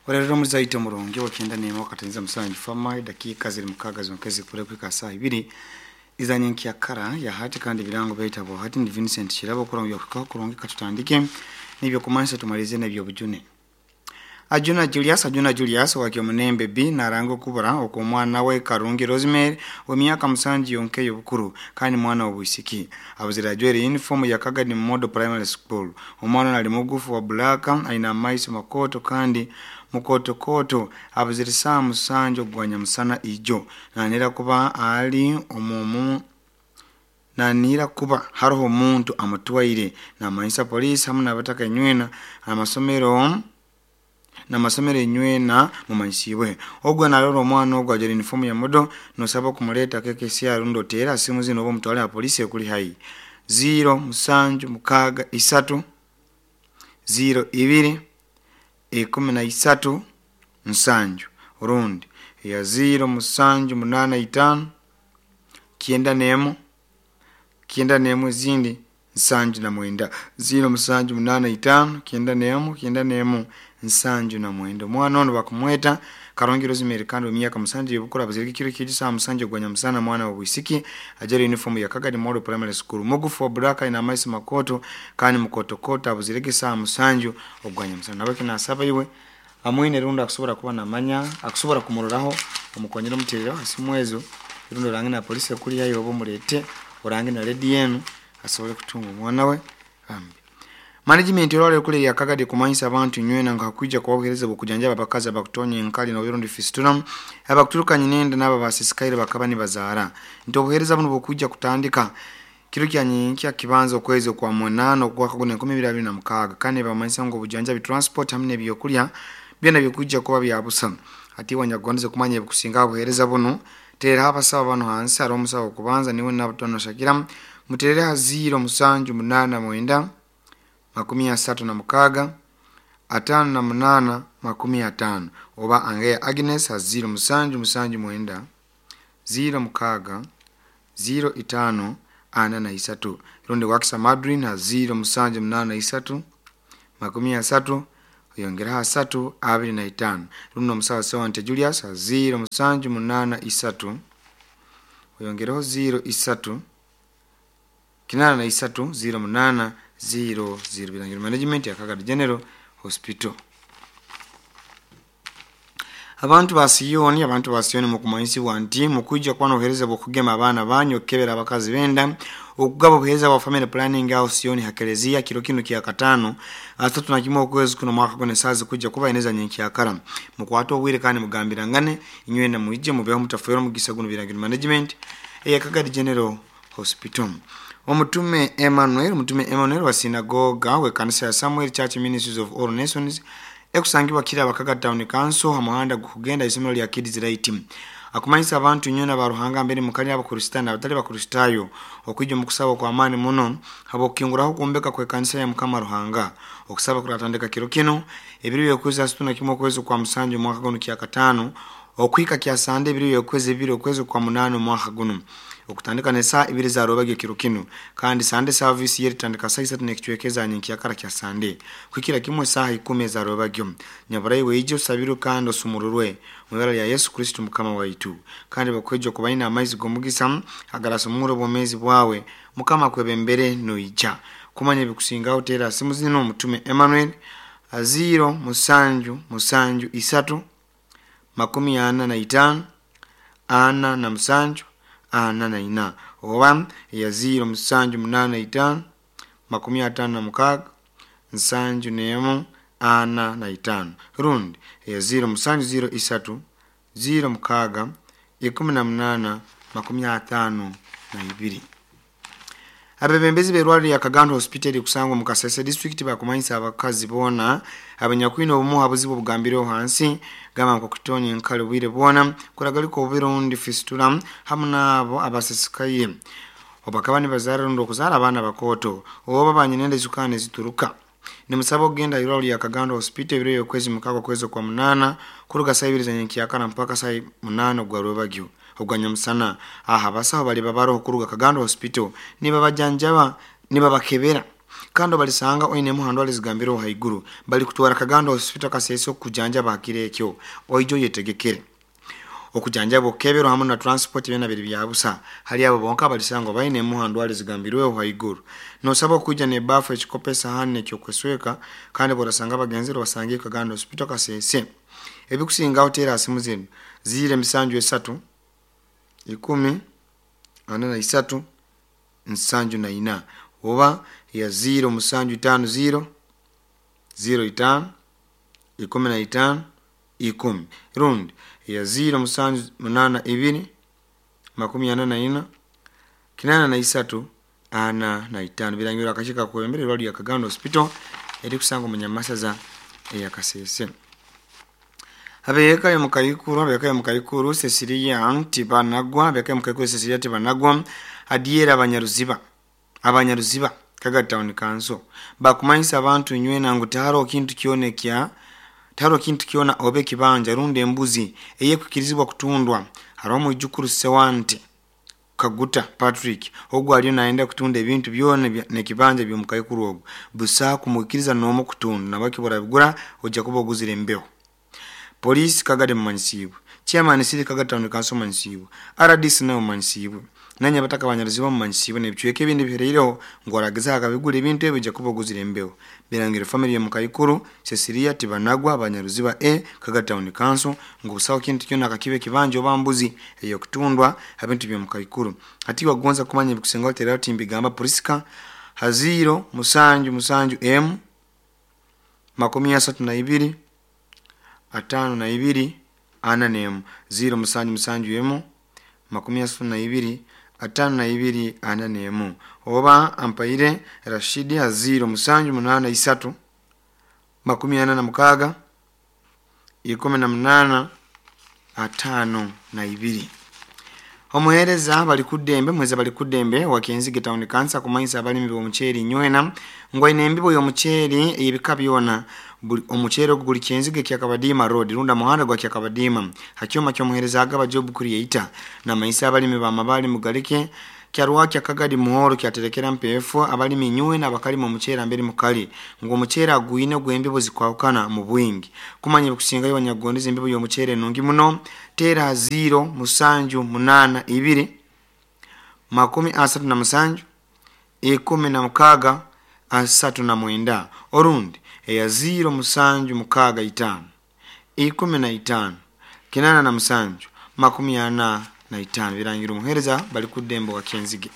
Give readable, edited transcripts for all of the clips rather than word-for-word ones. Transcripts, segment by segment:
Orero muzaite omurungi wa 91 katenza musanju fama dakika ziri mukaga zonkezi kure kwika saa ibiri izanye nkyakara ya hati kandi birango baita bo hati ni Vincent Kirabo kuranga yakukaho kurungi katutandike nibyo kumansa tumalize nabyo bujune. Ajuna Julius wakyomunembe B narango kubura okumwana we Karungi Rosemary wa myaka musanju yonke yobukuru kandi mwana wa bwisiki abuzira ajwere uniform ya Kagadi Model Primary School. Omwana nali mugufu wa black, aina maiso makoto kandi mukotokoto. Abuzira saa musanju ogwanya musana ijo nanira kuba ali omumu nanira kuba haroho omuntu amutwaire. Namanyisa polisi hamu nabataka enywena amasomero namasomero enywena mumanyisibwe. Ogwo narora omwana ogwo ajwaire uniform ya modo, nosaba kumuleeta KKCR rundi oteera simu zino oba omutwale ha polisi ekuli haihi: 0763 02 13 7, rundi ya 0785 91 91 ezindi 79, 0785 91 91 79. Omwana ono bakumweta Karongi Rosemary kandi emyaka musanju yobukuru, abazirike kiro kiji saa musanju ogwanya musana. Mwana wa bwisiki ajara uniform ya Kagadi Model Primary School, mugufu wa black, ina amaiso makoto kandi mukotokoto. Abuzirike saa musanju ogwanya musana. Nabaki nasaba iwe amwine rundi akusobora kuba namanya akusobora kumuroraho, omukonyera omuterero asimu ezo, rundi orange na polisi ekuli haihi oba omulete orange na redi yenu asobole kutunga omwana we bambi. Management olwaleero kuli ya Kagadi kumanyisa abantu nywena nga hakwija kuba obuheereza bw'okujanjaba abakazi abakutonya enkali noburundi fistula, abakuturuka nyinenda n'abo basisikaire bakaba nibazaara, nti obuheereza buno bukwija kutandika kiro kya nyenkya kibanza okwezi okwa munaana ogwaka guno 2026, kandi bamanyisa ngu obujanjabi, transport hamu n'ebyokulya byona bikwijja kuba bya busa. Ati wanyagondeze kumanya ebikusinga obuheereza bunu, teeraho abasawo bano hansi. Hariho omusawo okubanza niwe Nabatono Shakira, muterere ha 0789 36 58 50, oba Angeya Agnes ha 0779 06 05 43, rundi Wakisa Madrin ha 0783 30 oyongeraho 3 25, rundi omusawo Sewante Julius ha 0783 oyongereho 03 83 08 00. Birangiro management ya Kagadi General Hospital. Abantu ba Siyoni mukumanyisibwa nti mukwija kuba n'obuheereza bw'okugema abaana banyu, okukebera abakazi benda, okugaba obuheereza bwa family planning aho Siyoni ha Kereziya kiro kinu kya katano 31 okwezi kuno mwaka guno. Esaaha zikujja kuba eneza nyenkyakara. Mukwate obwire kandi mugambirangane inywena mwije mubeho mutafeera omugisa guno. Birangiro management eya Kagadi General Hospital. Omutume Emmanuel wa sinagoga w'ekanisa ya Samuel Church Ministries of All Nations ekusangibwa kiri Abakaga Town Council ha muhanda gukugenda isomero lya Kids Light akumanyisa abantu nywena ba Ruhanga mbere mukali, abakristaayo n'abatali bakristaayo, okwija omu kusaba okw'amaani muno habw'okukinguraho okwombeka kw'ekanisa ya Mukama Ruhanga. Okusaba kuratandika kiro kino ebiro by'okwezi 31 okwezi kwa musanju omwaka guno kya katano okuhika kya sande ebiro by'okwezi 2 okwezi kwa munaana omwaka guno, okutandika n'esaaha ibiri za rubagyo kiro kinu, kandi Sande service yeritandika saa isatu n'ekicweka eza nyenkyakara kya Sande kuhikira kimwe esaaha 10 eza rubagyo. Nyaburayi weije osabirwe kandi osumururwe mu ibara lya Yesu Kristo Mukama waitu, kandi bakweja okuba baine amaizi g'omugisa agarasumura obwomeezi bwawe. Mukama akwebembere noija kumanya ebikusingaho, teera simu zino: omutume Emmanuel 0773 45 47 44, oba eya 0785 56 71 45, rundi eya 0703 06 18 52. Abebembezi b'erwaliro lya Kagando Hospital kusangwa mu Kasese District bakumanyisa abakazi boona abanyakwine obumu ha buzibu obugambireho hansi, gamba nk'okutonya enkali obwire bwona, kuragalika obubi rundi fistula, hamu n'abo abasisikaire obakaba nibazaara rundi okuzaara abaana bakooto, oba banyinenda ezukaani ezituruka, nimusaba okugenda irwaliro lya Kagando Hospital ebiro by'okwezi mukaaga okwezi kwa munaana kuruga saa ibiri za nyenkyakara mpaka saa munaana ogwa rwebagyo ogwa nyamusana. Aha abasaho bali babaroho kuruga Kagando Hospital nibabajanjaba, nibabakebera. Kandi obalisanga oine emu ha ndwara ezigambireho haiguru, balikutwara Kagando Hospital Kasese okukujanjaba ha kiro ekyo. Oije oyetegekere. Okujanjaba, okukeberwa hamu na transport byona biri bya busa hali abo bonka abalisangwa baine emu ha ndwara ezigambirweho haiguru. Nosabwa kwija n'ebaafu, ekikopo, esahani n'ekyokwesweka, kandi bworasanga abagenzere obasangeyo Kagando Hospital Kasese. Ebikusingaho teera ha simu zinu: 073 10 43 74 oba ya 0750 05 15 10, rundi ya 0782 44 83 45. Birangirwa akakiiko akakwebembera irwariro lya Kagando Hospital erikusangwa omu Nyamasaza eya Kasese. Ab'eka y'omukaikuru, ab'eka y'omukaikuru Cecilia Tibanagwa, ab'eka y'omukaikuru Cecilia Tibanagwa, Adiera Abanyaruziba, Abanyaruziba, Kagadi Town Council, bakumanyisa abantu inywena ngu tihariho kintu kyona ekya tihariho kintu kyona oba ekibanja rundi embuzi eyekwikirizibwa kutundwa. Haroho omwijukuru Sewante Kaguta Patrick ogu aliyo nayenda kutunda ebintu byona n'ekibanja by'omukaikuru ogu. Busaho kumwikiriza n'omu kutunda, nahabweki obu orabigura ojja kuba oguzire embeho. Poliisi Kagadi mumanyisiibwe, Chairman City Kagadi Town Council mumanyisiibwe, RDC nawe mumanyisiibwe, nanye abataka Abanyaruziba mumanyisiibwe n'ebicweka ebindi ebiheraireho ngu oragezaho akabigura ebintu ebi ojja kuba oguzire embeho. Birangire family y'omukaikuru Cecilia Tibanagwa, Abanyaruziba A, Kagadi Town Council, ngu busaho kintu kyona akakiba ekibanja oba mbuzi ey'okutundwa ha bintu by'omukaikuru. Hati wagonza kumanya ebikusingaho teeraho Timbigamba Priska ha 0 7 7 emu 32 52 41, 0 7 7 emu 32 52 41, oba Ampaire Rashidi ha 0 7 8 3 46 18 52. Omuheereza Balikuddembe, omuheereza Balikuddembe wa Kenzige Town Council akumanyisa abalimi b'omuceeri inywena ngu aine embibo y'omuceeri ey'ebika byona. Omuceeri ogu guli Kyenzige Kyakabadiima Road rundi muhanda gwa Kyakabadiima ha kyoma ky'omuheereza Agaba Job Creator. Namanyisa abalimi ba Mabaale Mugalike Kyarwakya Kagadi Muhoro kyaterekera Mpeefu, abalimi inywena abakalima omuceeri amberi mukali ngu omuceeri agwine ogw'embibo zikwahukana mu bwingi. Kumanya ebikusingayo banyakugondeza embibo y'omuceeri enungi muno, teera ha 0 7 8 2 37 16 39, orundi eya 0 7 6 5 15 87 45. Birangira omuheereza Balikuddembe wa Kyenzige.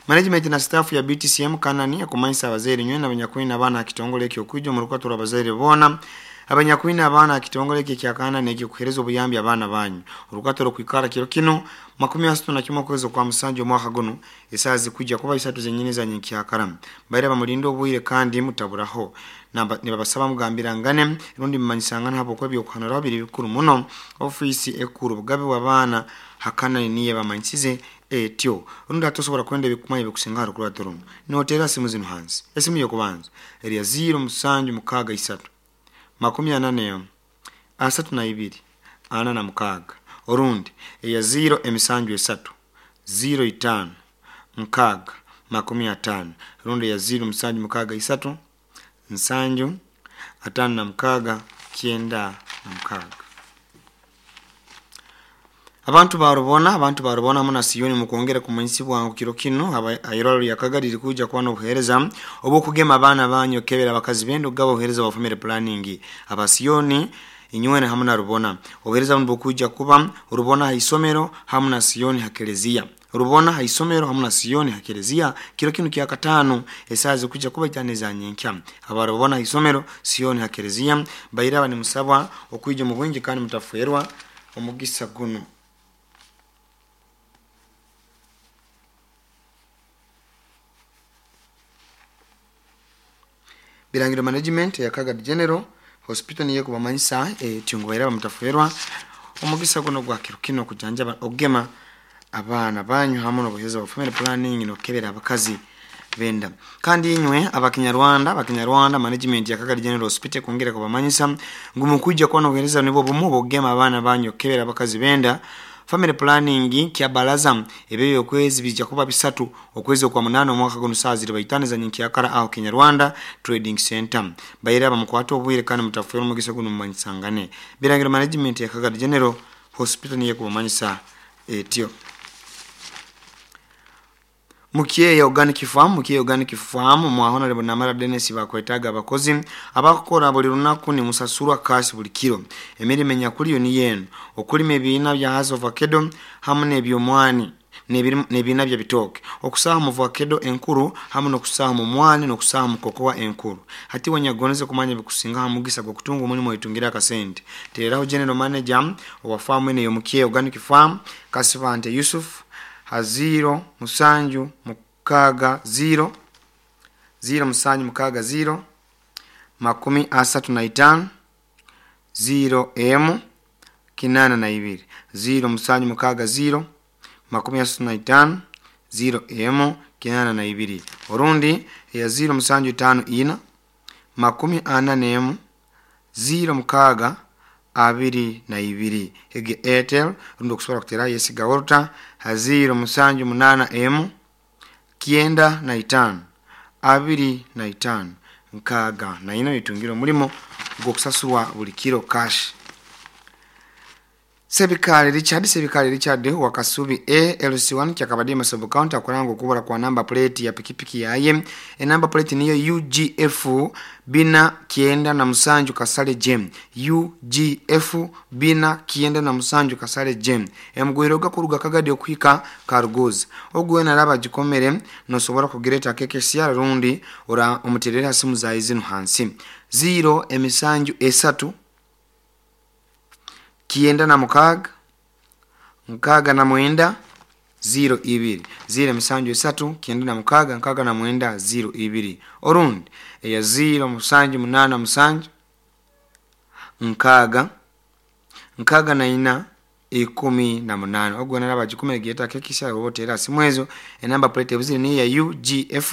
Management na staff ya BTCM Kanani akumanyisa abazaire nywena abanyakwine abaana ha kitongole ekyo okwija omu rukato rw'abazaire boona abanyakwine abaana ha kitongole eki ekya Kanani ekyokuheereza obuyambi abaana banyu. Orukato rukwikara kiro kinu 31 okwezi okwa musanju omwaka gunu, esaaha zikwija kuba isatu zenyini za nyenkyakara. Baire bamulinde obwire kandi mutaburaho. Nibabasaba mugambirangane rundi mumanyisangane habwokuba ebyokuhanuraho biri bikuru muno. Ofiisi ekuru obugabe bw'abaana ha Kanani niyo ebamanyisize etyo. Rundi hati osobora kwenda ebikumanya ebikusinga ha rukurato runu, noteera simu zinu hansi. Esimu y'okubanza eri ya 0 7 6 3 41 32 46, orundi eya 0 7 3 05 6 50, rundi eya 0 7 6 3 7 56 96. Abantu barubona, abantu barubona hamu na Siyoni mukwongera kumanyisibwa ngu kiro kinu irwariro lya Kagadi likuija kuba n'obuheereza obw'okugema abaana banyu, okukebera abakazi benda, okugaba obuheereza bwa family planning. Aba Siyoni inywena hamu na Rubona, obuheereza bunu bukwija kuba Rubona ha isomero hamu na Siyoni ha keleziya. Rubona ha isomero hamu na Siyoni ha keleziya kiro kinu kya kataano, esaaha zikwija kuba itaano eza nyenkya. Aba Rubona ha isomero, Siyoni ha keleziya, bairaba nimusabwa okwija omu bwingi kandi mutafwerwa omugisa gunu. Birangiro Management eya Kagadi General Hospital niyo ekubamanyisa etyo ngu bairaba mutafwerwa omugisa guno gwa kiro kinu okujanjaba, okugema abaana banyu hamu n'obuheereza bwa family planning n'okukebera abakazi benda. Kandi inywe abakinyarwanda, abakinyarwanda, management ya Kagadi General Hospital ekwongera kubamanyisa ngu mukwija kuba n'obuheereza nibwo bumu obw'okugema abaana banyu, okukebera abakazi benda. Family planning kyabalaza ebyo okwezi bijja kuba 3 okwezi okwa 8 omwaka guno saa ziri baitano za nyenkyakara aho Kinyarwanda Trading Center. Bayira bamukwata obwire kandi mutafera omugisa guno mumanyisangane. Birangiro management ya Kagadi General Hospital niye kubamanyisa etyo. Mukyeya Organic Farm, Mukyeya Organic Farm mwa Honorable Namara Dennis bakwetaga abakozi abakukora buli lunaku ni musasurwa cash buli kiro. Emirimo enyakuliyo ni yenu okulima ebiina bya hazi avocado hamu n'ebyomwani n'ebiina bya bitooke, okusaaha mu avocado enkuru hamu n'okusaaha mu mwani n'okusaaha mu kokoa enkuru. Hati wanyagoneze kumanya bikusinga ha mugisa gw'okutunga omulimu oitungira akasente, teeraho general manager owa faamu eno ey'Omukyeya Organic Farm Kasibante Yusuf ha 0 7 6 0 0 7 6 0 35 0 M 82 0 7 6 0 35 0 M 82 orundi ya 0 7 5 4 41 0 6 22 ege Airtel rundi okusobola kutera Yesiga Walter ha 0 7 8 M 95 25 64 itungira omulimo gw'okusasurwa buli kiro cash. Sebikale Richard wa Kasubi A LC1 kyakabadima sub county akuranga okubura kwa namba plate ya pikipiki yaye. Enamba plate niyo UGF 497 Kasale Jem, UGF 497 Kasale Jem. Emugwiro gakuruga Kagadi okuhika Karuguzi ogwe naraba gikomere nosobora kugireta KKCR rundi ora omuterera simu za izinu hansi 0 emisanju 3 96 69 02 0 7 3 96 69 02 orundi eya 0 7 8 7 6 64 18 ogwo naraba gikomere giyeta KKCR obotera simu ezo. Enamba plate ebuzire ni ya UGF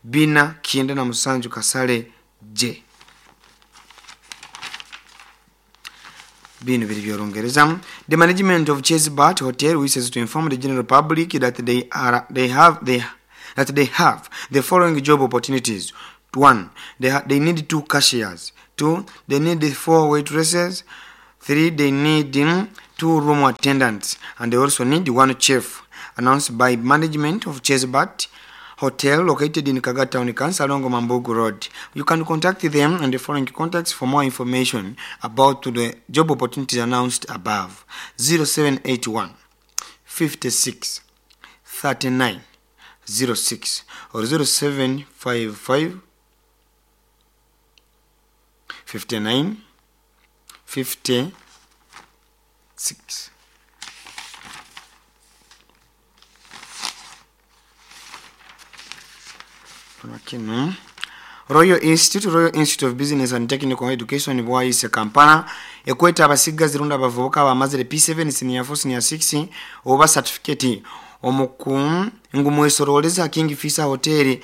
497 Kasale J. Bino biri by'Olungereza. The management of Chesebart Hotel wishes to inform the general public that they have the following job opportunities. 1. They need 2 cashiers. 2. They need 4 waitresses. 3. They need 2 room attendants, and they also need 1 chef. Announced by management of Chesebart Hotel located in Kaga Town Council along Mambugu Road. You can contact them and the following contacts for more information about the job opportunities announced above. 0781 56 39 06 or 0755 59 56. Royal Institute of Business and Technical Education bwaise Kampala ekweta abasigazi runda abavubuka abamazire P7 senior 4 senior 6 oba certificate omuku ngumwesoroleza King Fisa Hotel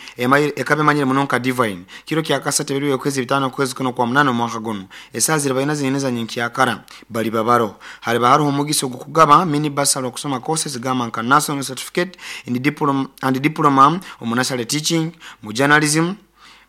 ekabe manyire munonka Divine kiro kya kasate biri okwezi 5 kwezi kuno kwa 8 mwaka guno esazi bayina zineneza nyinkiyakara bali babaro hali baharo omugiso gukugaba mini basalo okusoma courses gama nka national certificate in diploma and diploma omunasale teaching mu journalism,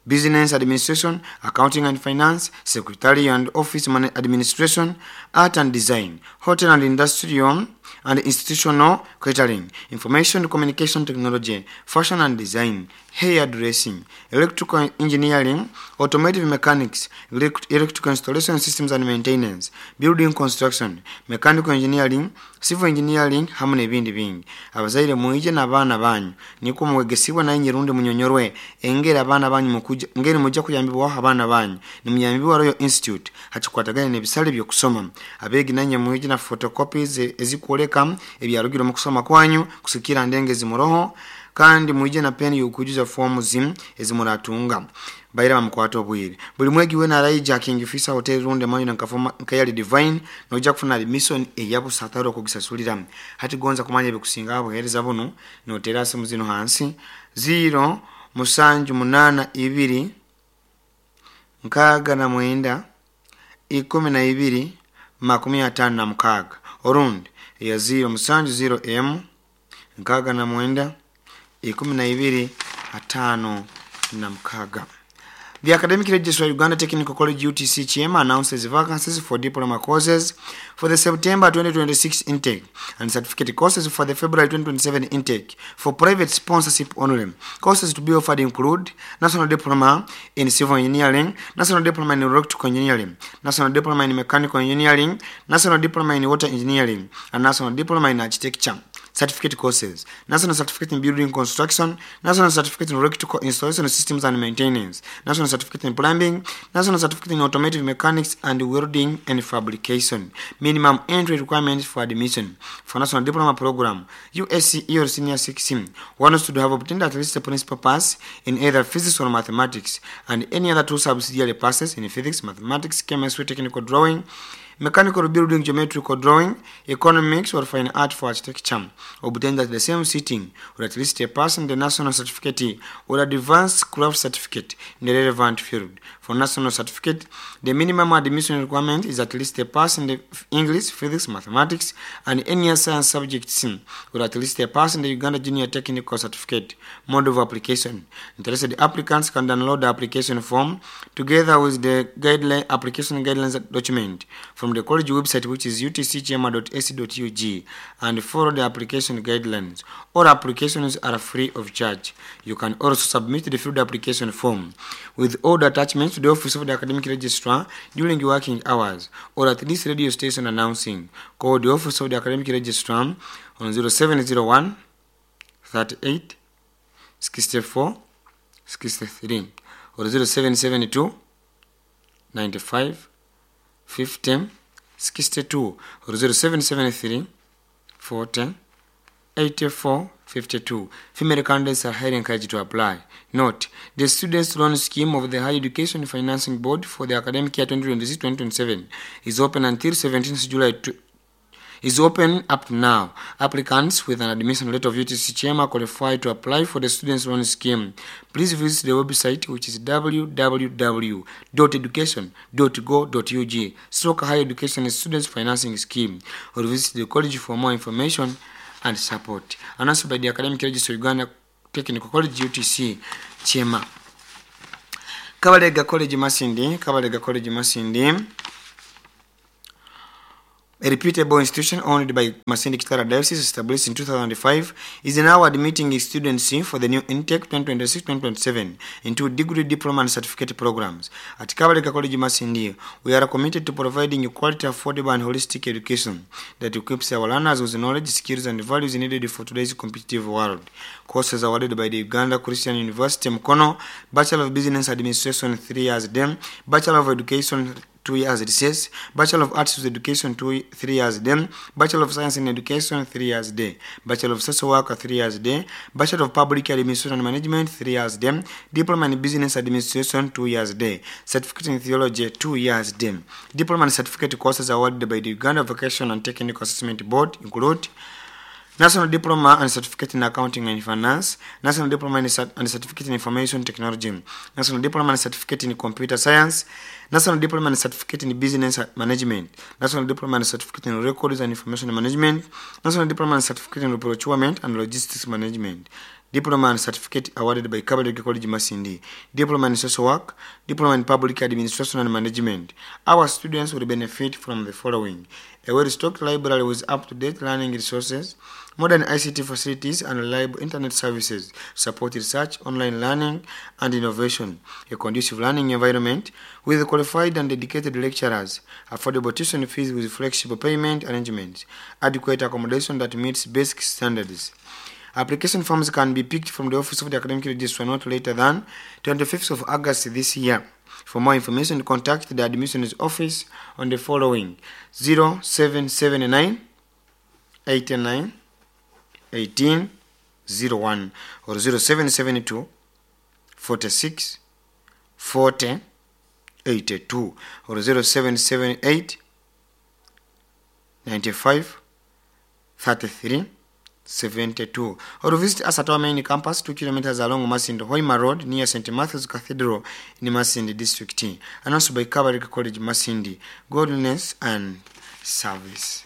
business administration, accounting and finance, secretary and office administration, art and design, hotel and industrial and institutional catering, information communication technology, fashion and design, hair dressing, electrical engineering, automotive mechanics, electrical installation systems and maintenance, building construction, mechanical engineering, civil engineering hamu n'ebindi bingi. Abazaire mwije n'abaana banyu niko mwegesibwa naye nyirundi munyonyorwe engeri abaana banyu mukuja ngeri mujja kuyambibwaho abaana banyu nimuyambibwa Royal Institute hakikwatagana n'ebisale by'okusoma. Abeegi nanye mwije na photocopies ezikwoleka ebyarugire mu kusoma kwanyu kusikira ndenge zimuroho kandi mwije na peni y'okujuza fomu zimu ezimuratunga. Baira bamukwata obwire buli mwegi wena araija King Fisa Hotel runde manyu nkafoma nkayali Divine noja kufuna admission eyabusataro okugisasulira. Hati gonza kumanya ebikusinga abuhereza buno notera simu zino hansi 0 7 8 2 69 12 56 orundi Eya 0 7 0 emu 69 12 56. The Academic Registrar, Uganda Technical College UTC Kyema, announces vacancies for diploma courses for the September 2026 intake and certificate courses for the February 2027 intake for private sponsorship only. Courses to be offered include National Diploma in Civil Engineering, National Diploma in Electrical Engineering, National Diploma in Mechanical Engineering, National Diploma in Water Engineering, and National Diploma in Architecture. Certificate courses: National Certificate in Building Construction, National Certificate in Electrical Installation Systems and Maintenance, National Certificate in Plumbing, National Certificate in Automotive Mechanics and Welding and Fabrication. Minimum entry requirements for admission: for National Diploma Program, USCE or Senior 6, one should have obtained at least a principal pass in either physics or mathematics and any other two subsidiary passes in physics, mathematics, chemistry, technical drawing, mechanical building, geometrical drawing, economics, or fine art for architecture, obtained at the same sitting, or at least a pass in the national certificate or advanced craft certificate in the relevant field. For national certificate, the minimum admission requirement is at least a pass in the English, physics, mathematics, and any other science subjects, or at least a pass in the Uganda Junior Technical Certificate. Mode of application: interested applicants can download the application form together with the guideline application guidelines document from the college website, which is utckyema.ac.ug, and follow the application guidelines. All applications are free of charge. You can also submit the filled application form with all the attachments to the office of the academic registrar during working hours or at this radio station announcing. Call the office of the academic registrar on 0701 38 64 63 or 0772 95 50 62 or 0773 40 84 52. Female candidates are highly encouraged to apply. Note, the Students' Loan Scheme of the Higher Education Financing Board for the academic year 2026-2027 is open until 17th July is open up to now. Applicants with an admission letter of UTC Kyema qualify to apply for the Students' Loan Scheme. Please visit the website, which is www.education.go.ug/Higher Education Students Financing Scheme, or visit the college for more information and support. Announced by the Academic Registrar, Uganda Technical College UTC Kyema. Kabalega College Masindi, Kabalega College Masindi, a reputable institution owned by Masindi Kitara Diocese, established in 2005, is now admitting students for the new intake 2026-2027 into degree, diploma and certificate programs. At Kabalega College Masindi, we are committed to providing quality, affordable and holistic education that equips our learners with knowledge, skills and values needed for today's competitive world. Courses awarded by the Uganda Christian University Mukono: Bachelor of Business Administration 3 years then, Bachelor of Education 2 years recess, Bachelor of Arts with Education 2 3 years then, Bachelor of Science in Education 3 years day, Bachelor of Social Work 3 years day, Bachelor of Public Administration and Management 3 years day, Diploma in Business Administration 2 years day, Certificate in Theology 2 years day. Diploma and certificate courses awarded by the Uganda Vocation and Technical Assessment Board include National Diploma and Certificate in Accounting and Finance, National Diploma and Certificate in Information Technology, National Diploma and Certificate in Computer Science, National Diploma and Certificate in Business Management, National Diploma and Certificate in Records and Information Management, National Diploma and Certificate in Procurement and Logistics Management. Diploma and Certificate awarded by Kabalega College Masindi, Diploma in Social Work, Diploma in Public Administration and Management. Our students will benefit from the following: a well-stocked library with up-to-date learning resources, modern ICT facilities and reliable internet services, support research, online learning and innovation, a conducive learning environment with qualified and dedicated lecturers, affordable tuition fees with flexible payment arrangements, adequate accommodation that meets basic standards. Application forms can be picked from the office of the academic registrar not later than 25th of August this year. For more information, contact the admissions office on the following: 0779 89 18 01 or 0772 46 40 82 or 0778 95 33 72, or visit us at our main campus, 2 kilometers along Masindi Hoima Road near St. Matthew's Cathedral in Masindi District. Announced by Kabalega College Masindi. Godliness and service.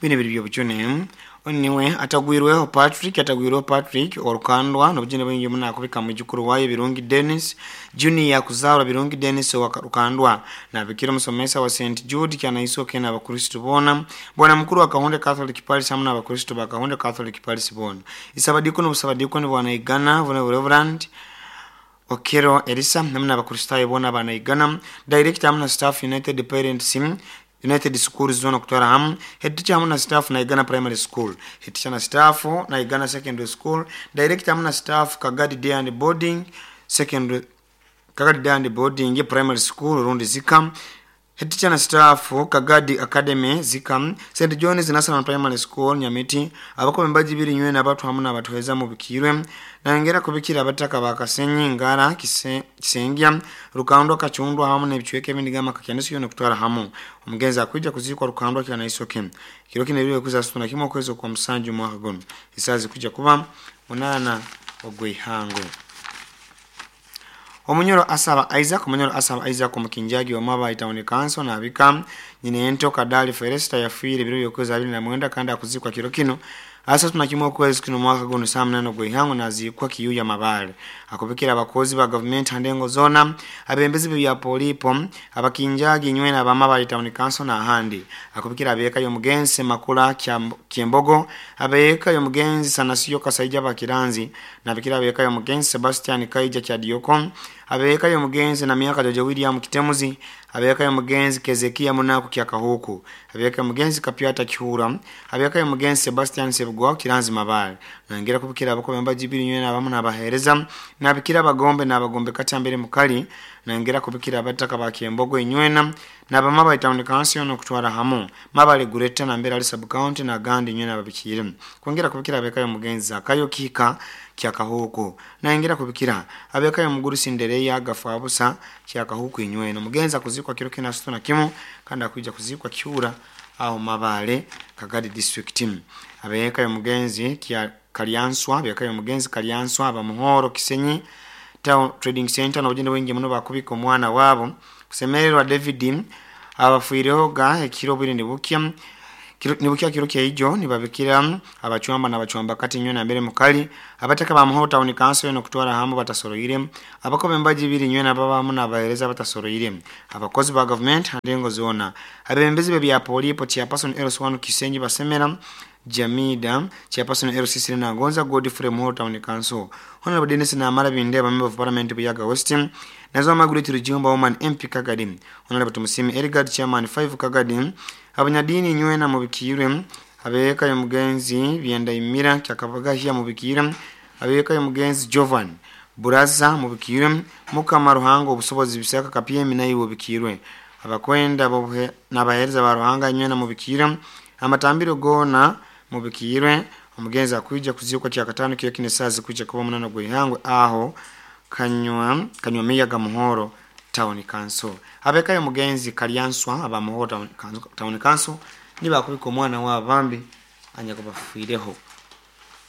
Binu biri byobujune. Niwe atagwirweho Patrick, atagwirweho Patrick orukandwa nobujune bwingi muno akubika mwijukuru wayo Birungi Dennis Junior kuzarwa Birungi Dennis wa Rukandwa nabikira omusomesa wa St Jude Kyanaisoke n'abakristo boona, bwana mukuru wa Kahonde Catholic Parish hamwe n'abakristo ba Kahonde Catholic Parish boona. Isabadikoni obusabadikoni bwanaigana buna Reverend Okero Elisa hamwe n'abakristayo boona banaigana, director hamwe na staff United Parents United Schools zona kutwara hamu, head teacher hamwe na staff Naigana Primary School, head teacher na staff Naigana Secondary School, director hamwe na staff Kagadi Day and Boarding Secondary, Kagadi Day and Boarding Primary School rundi Zika, head teacher na staff Kagadi Academy Zika, St John's National Primary School Nyamiti, abakomi mbaji biri nywe n'abatu hamwe n'abatuheza mu bikirwe nangera kubikira abataka bakasenyi ngara kisengya Rukandwa Kachundwa hamwe n'ebicweka ebindi gama kakyanisi yona kutwara hamu. Omugenzi akwija kuzikwa Rukandwa Kyanaisoke kiro kino ebiro kuza situna kimwe okwezi kwa musanju mwaka guno isazi kuja kuba 8 ogw'ihango. Omunyoro asaba Isaac, Omunyoro asaba Isaac omukinjagi wa Maba Town Council nabika nyine ento Kadali Felesta yafiire biro byokwezi 29 kandi akuzikwa kiro kino asa tunakimwe okwezi kino mwaka guno saa 8 ogw'ihango nazikwa Kiyuya Mabale. Akubikira abakozi ba government handengo zona, abembezi bya polipo, abakinjagi nywe na Maba Town Council na ahandi. Akubikira abeka yomugenzi Makula Kiembogo, abeka yomugenzi Sanasiyo Kasaija Bakiranzi, nabikira abeka yomugenzi Sebastian Kaija Kyadioko, abeka yomugenzi na miaka Jojo William Kitemuzi, abeka yomugenzi Kezekia Munaku Kyakahuku, abeka yomugenzi Kapyata Kihura, abeka yomugenzi Sebastian Sebugwa Kiranzi Mabale. Nangera kubikira abakobe mbajibiri nywe nabamu nabahereza, nabikira abagombe n'abagombe katambere mukali, nangera kubikira abataka ba Kiembogo inywena nabamaba Town Council no kutwara hamu Mabale Gureta na mbera ali sub county na gandi inywena babikire. Kwongera kubikira abeka yomugenzi Zakayo Kika Kyakahuku, nangera kubikira abeka yomuguru Sindereya Gafabusa Kyakahuku inywena. Mugenzi akuzikwa kiro kina situna kimu kandi akuja kuzikwa Kiura aho Mabale Kagadi district. Abeka yomugenzi kya Kalyanswa, abeka yomugenzi Kalyanswa abamuhoro Kisenyi Town Trading Center n'obugendo bwingi muno bakubika omwana wabo kusemererwa David abafuireho ga ekiro bwire nibukya nibukya kiro kyaijo nibabikira abachwamba n'abachwamba kati nywe na mbere mukali abataka ba Muhoro Town Council no kutwara hamu batasoroire abakobe mbaji biri nywe na baba hamu n'abahereza batasoroire abakozi ba government handengo zona abembezi bya polipo chairperson LC1 Kisenyi basemera Jamida chairperson LC na Gonza Godfrey Muhoro Town Council Honorable Dennis Namara Bindeba member of Parliament Buyaga West nazo Margaret Rujumba woman MP Kagadi Honorable Tumusimi Edgard chairman 5 Kagadi abanyadini nywe na mubikirwe abeka yomugenzi byenda imira kyakabagahya mubikirwe abeka yomugenzi Jovan Buraza mubikirwe Mukama Ruhango obusobozi bisaka kapyemi nayo bubikirwe abakwenda bobuhe n'abahereza ba Ruhanga nywe na mubikirwe amatambiro gona mubikirwe. Omugenzi akuija kuzikwa kya katano kiyo kinesazi kuja kuba munano gwihangwe aho kanywa miyaga Muhoro Town Council. Abeka yomugenzi Kalyanswa aba Muhoro Town Council nibakubika omwana wa bambi anya kubafiireho.